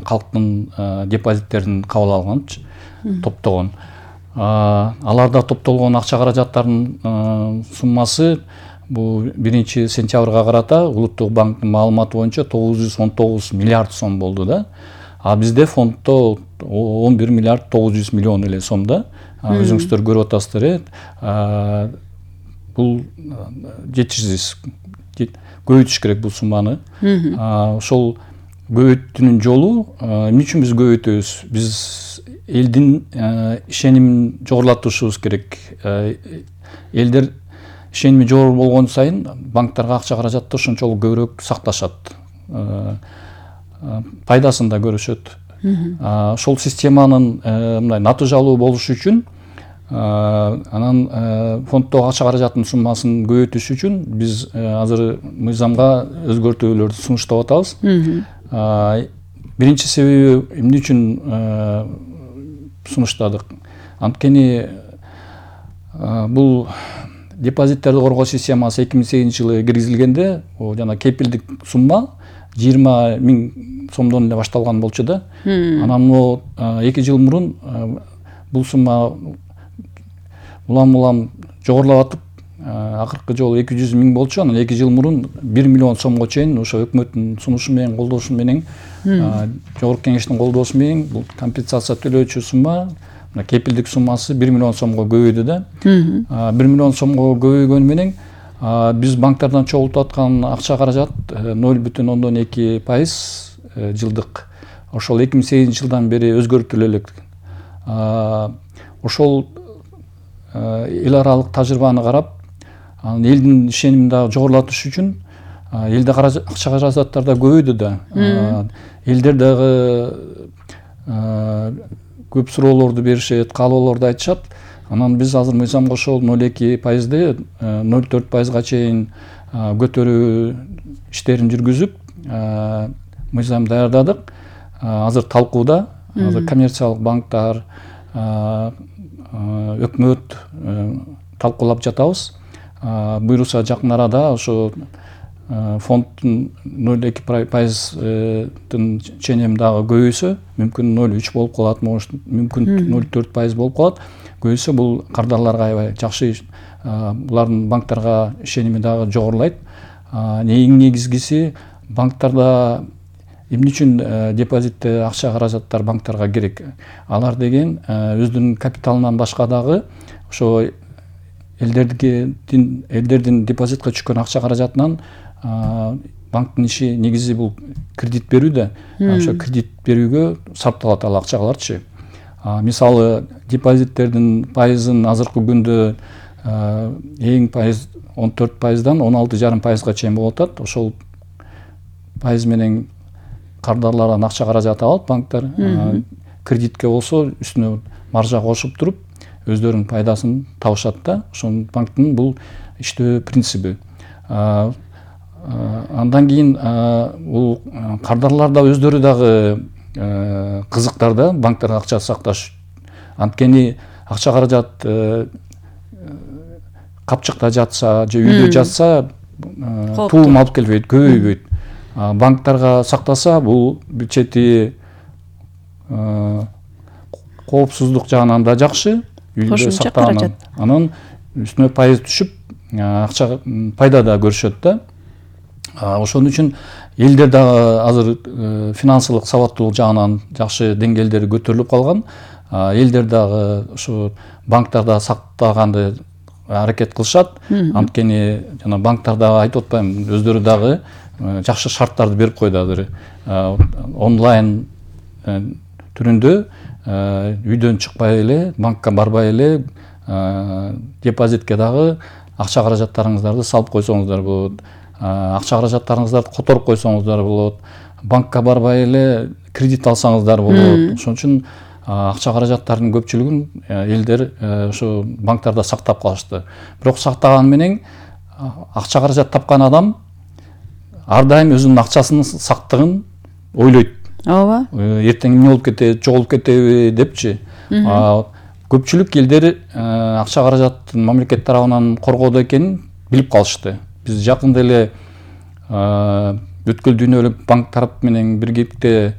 калктын депозиттерин кабыл алганчы, топтогон. Аларда топтолгон акча каражаттарынын суммасы бул 1-сентябрга карата Улуттук банктын маалыматы боюнча 919 миллиард сом болду да. А бизде фонддо 11 миллиард 900 миллион эле сом да. Өзүңүздөр көрүп атасыздар. Бул жетишсиз. Көбөйтүш керек бул сумманы. Ошол көбөйтүүнүн жолу эмне үчүн биз көбөйтөбүз? Биз элдин ишенимин жогорулатышыбыз керек. Элдер ишеними жогору болгон сайын банктарга акча каражатты ошончолук көбүрөөк сакташат. Пайдасын да көрүшөт. Ошол системанын мындай натыйжалуу болушу үчүн анан фонддогу акча каражаттын суммасын көбөйтүш үчүн биз азыр мыйзамга өзгөртүүлөрдү сунуштап атабыз. Биринчи себеби эмне үчүн сунуштадык? Анткени бул депозиттерди коргоо системасы 2008-жылы киргизилгенде, жана кепилдик сумма 20 000 сомдон эле башталган болчу да. Анан 2 жыл мурун бул сумма улам жогорулап атып, акыркы жолу 200 000 болчу. Анан 2 жыл мурун 1 миллион сомго чейин ошо өкмөттүн сунушу менен, колдоосу менен, жогорку кеңештин колдоосу менен бул компенсация төлөөчү сумма, кепилдик суммасы 1 миллион сомго көбөйдү да. 1 миллион сомго көбөйгөнү менен биз банктардан чогултуп аткан акча каражат 0,2% жылдык. Ошол 2008-жылдан бери өзгөртүлө элек. Ошол эл аралык тажрыйбаны карап, элдин ишенимин дагы жогорулатыш үчүн элде акча каражаттар да көбөйдү да. Элдер дагы көп суроолорду беришет, каалоолорду айтышат. Анан биз азыр мыйзамга ошол 0,2%ды 0,4%га чейин көтөрүү иштерин жүргүзүп, мыйзам даярдадык. Азыр талкууда. Азыр коммерциялык банктар, өкмөт талкуулап жатабыз. Буюрса жакын арада ошо фонддун 0,2%-дын ченеми дагы көбөйсө, мүмкүн 0,3 болуп калат, мүмкүн 0,4% болуп калат. Көбөйсө бул кардарларга аябай жакшы, булардын банктарга ишеними дагы жогорулайт. Эң негизгиси, банктарда эмне үчүн депозитте акча каражаттар банктарга керек? Алар деген өздүнүн капиталынан башка дагы ошо элдердин депозитке түшкөн акча каражатынан банктын иши негизи бул кредит берүү да. Ошо кредит берүүгө сарпталат ал акчаларчы. Мисалы, депозиттердин пайызын азыркы күндө эң пайыз 14%дан 16,5%га чейин болуп атат. Ошол пайыз менен кардарлардан акча каражат алат банктар. Кредитке болсо үстүнө маржа кошуп туруп, өздөрүнүн пайдасын табышат да. Ошол банктын бул иштөө принциби. Андан кийин бул кардарлар да өздөрү дагы кызыктар да банктарда акча сакташ. Анткени акча каражат капчыкта жатса же үйдө жатса туум алып келбейт, көбөйбөйт. Банктарга сактаса бул бюджети коопсуздук жагынан да жакшы, үйдө сактагандан. Анан үстүнө пайыз түшүп, акча пайда да көрүшөт да. Ошон үчүн элдер дагы азыр финансылык сабаттуулук жагынан жакшы деңгээлдери көтөрүлүп калган. Элдер дагы ошо банктарда сактаганды аракет кылышат. Анткени жана банктар дагы айтып атпайм, өздөрү дагы жакшы шарттарды берип койду азыр. Онлайн түрүндө үйдөн чыкпай эле, банкка барбай эле депозитке дагы акча каражаттарыңыздарды салып койсоңуздар болот. Акча каражаттарыңыздарды которуп койсоңуздар болот. Банкка барбай эле кредит алсаңыздар болот. Ошон үчүн акча каражаттарынын көпчүлүгүн элдер ошо банктарда сактап калышты. Бирок сактаган менен акча каражат тапкан адам ар дайым өзүнүн акчасынын сактыгын ойлойт. Ооба. Эртең эмне болуп кетет, жоголуп кетеби депчи. Көпчүлүк элдер акча каражаттын мамлекет тарабынан коргоодо экенин билип калышты. Биз жакында эле өткөл дүйнөлүк банк тарап менен биргеликте